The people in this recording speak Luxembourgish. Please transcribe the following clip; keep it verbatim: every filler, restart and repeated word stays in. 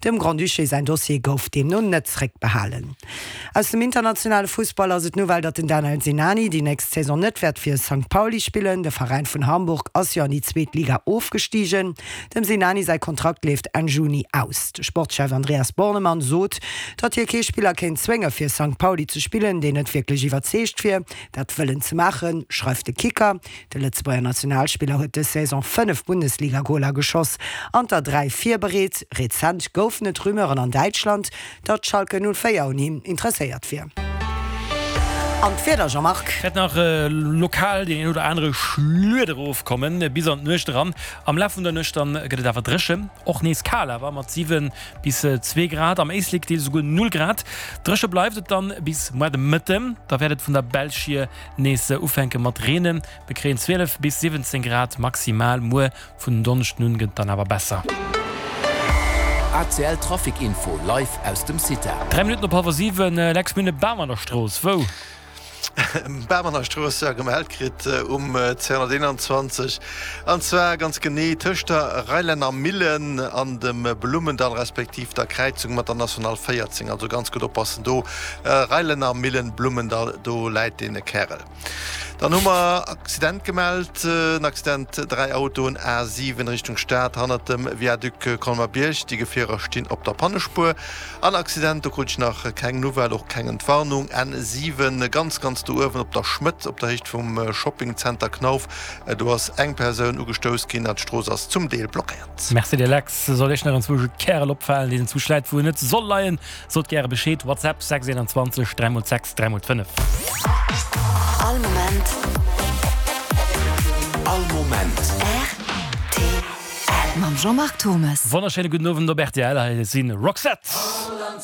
Dem Grand-Duché säin Dossier gouf deemno net zeréckbehalen. Aus dem internationale Fussball ass et d'Nouvelle, datt den Danel Sinani déi nächst Saison net wäert fir Sankt Pauli spillen. De Veräin vun Hamburg ass jo an déi zweet Liga ofgestigen. Dem Sinani säi Kontrakt leeft Enn Juni aus. De Sportschef Andreas Bornemann sot, datt hie kee Spiller kéint zwénge fir Sankt Pauli ze spillen, deen net wierklech iwwerzeegt wier, dat wëllen ze maachen, schreift de Kicker. De Lëtzebuerger Nationalspiller huet dës Saison fënnef Bundesliga-Goler geschoss an der dräi virbereet. Rezent goufen et Rumeuren an Däitschland, datt Schalke null véier un him interesséiert wier. An d'Wieder, Jean-Marc? Wäert nach lokal deen een oder anere Schluet erofkommen, bis an d'Nuecht eran. Am Laf vun der Nuecht dann gëtt et awer dréchen, och nees kal awer mat siwe bis zwee Grad, am Éislek deels esouguer null Grad. Dréche bleift et dann bis muer de Mëtten, da wäert et vun der Belsch hier nees ufänke mat reenen. Mir kréien zwielef bis siwwenzéng Grad maximal, muer vun Donneschden un gëtt et dann awer besser. A C L Trafic Info live aus dem CITA. Dräi Minutten op hallwer siwen, Lex Münne, Baarmannerstrooss, wou? Baarmannerstrooss, jo, gemellt kritt um zweehonnerteenanzwanzeg, an zwar ganz genee tëscht der Reilänner Millen an dem Blummendall respektiv der Kräizung mat der National véierzéng. Also ganz gutt oppassen do, Reilänner Millen, Blummendall, do läit dee Kärel. Dann hu mer Accident gemellt, en Accident, dräi Autoen, A siwen Richtung Stad, hannert dem Viaduc Colmer-Bierg. Déi Gefierer stinn op der Pannespuer. An Accident, do krut ech nach keng Nouvelle, och keng Entwarnung, N siwen ganz, ganz do uewen op der Schmëtt, op der Héicht vum Shoppingzenter Knauf, do ass eng Persoun ugestouss ginn an d'Strooss ass zum Deel blockéiert. Merci dir Lex. Soll iech nach enzwousch e Kärel opfalen, deen enzwousch läit wou en net soll leien, sot gäre Bescheed. WhatsApp sechs eenanzwanzeg dräi mol sechs dräi mol fënnef. All Moment. All Moment. R T L. Mam Jean-Marc Thomes. Wonnerschéine gudden Owend op R T L. Hei si Roxette.